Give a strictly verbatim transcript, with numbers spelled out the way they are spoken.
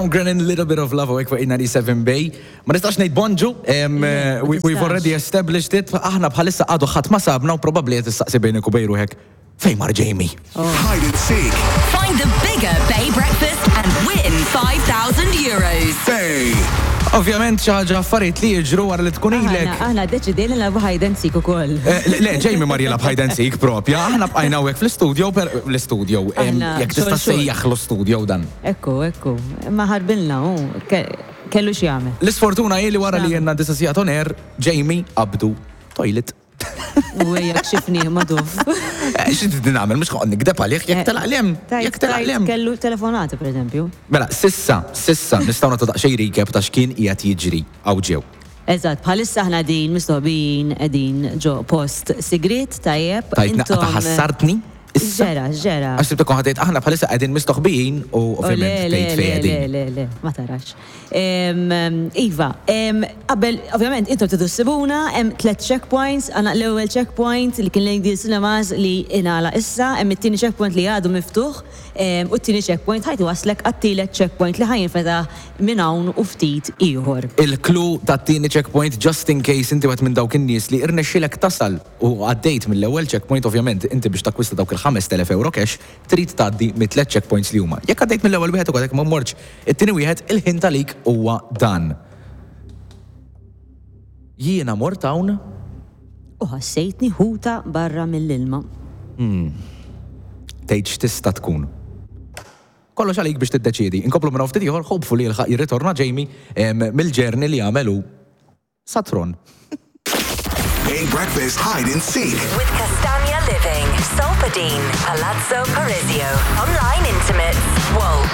Tom Grennan, Little Bit of Love, hawnhekk fuq eight ninety-seven Bay. Ma nistax ngħid bonġu, em, Le, ma we- we've tistax. already established it. Aħna bħalissa għadu ħadd ma sabna u probabbli qed tistaqsi bejnek u bejn ruħek, fejn mar Jamie? Hide and seek. Find the bigger Bay Breakfast and win five thousand euros. Bay. Ovvjament xi ħaġa, affarijiet li jiġru wara li tkun ilek. Aħna aħna deċidejna nilagħbu hide and seek ukoll. Eh, Le, le, Jamie mar jilgħab hide and seek propja, aħna bqajna hawnhekk fl-studio, per l-studio, em, Aħna jekk tista' xogħol xogħol. sejjaħ l-studio dan. Ekku, ekku. Ma ħarbilna, u ke- kellu x'jagħmel. L-isfortuna hi li wara li jenna disa sigħat on air, Jamie qabdu toilet. U ejja kxifni maduf. Eh, Xi trid nagħmel, mhux ħoq nikdeb għalih, jekk telaq lem, jekk telaq lem. Kellu telefonata, per eżempju. Mela, sissa, sissa, nistgħu nagħtu daqsxejn recap ta' x'kien qiegħed jiġri hawn ġew. Eżatt, bħalissa aħna din mistoħbin qegħdin ġo post sigrit, tajjeb. Tajt naqqa ta' ħassartni. Issa. Ġera, ġera. Għax tibta kon ħadejt aħna bħalissa qegħdin mistoħbijin u Oh, le, ovvjament le, tgħid le, fejn le, qegħdin. Le, le, ma tarax. Em, em, Iva, em, qabel, ovvjament, intom tridu ssibuna, hemm tliet checkpoints, għandna l-ewwel checkpoint li kien lejn Cinemas li ingħalaq issa, hemm it-tieni checkpoint li għadu miftuħ, em, u t-tieni checkpoint ħa jwasslek għat-tielet checkpoint li ħa jinfetaħ minn hawn u ftit ieħor. Il-clue tat-tieni checkpoint, just in case inti wieħed minn dawk in-nies li irnexxilek tasal u għaddejt mill-ewwel checkpoint, ovvjament inti biex takkwista dawk il-ħamest elef euro cash trid tgħaddi mit-tliet checkpoints li huma. Jekk għaddejt mill-ewwel wieħed u għadek ma mortx it-tieni wieħed, il-hint għalik huwa dan. Jiena mort hawn. U ħassejtni ħuta barra mill-ilma. Tgħid x'tista' tkun. Kollox għalik biex tiddeċiedi. Inkomplu minn ftit ieħor, hopefully jilħaq jirritorna Jamie em, mill-journey li għamelu sa Tron. Bay Breakfast Hide and Seek. With Castagna Living, Solpadeine, Palazzo Parisio, Online Intimates, Wolt.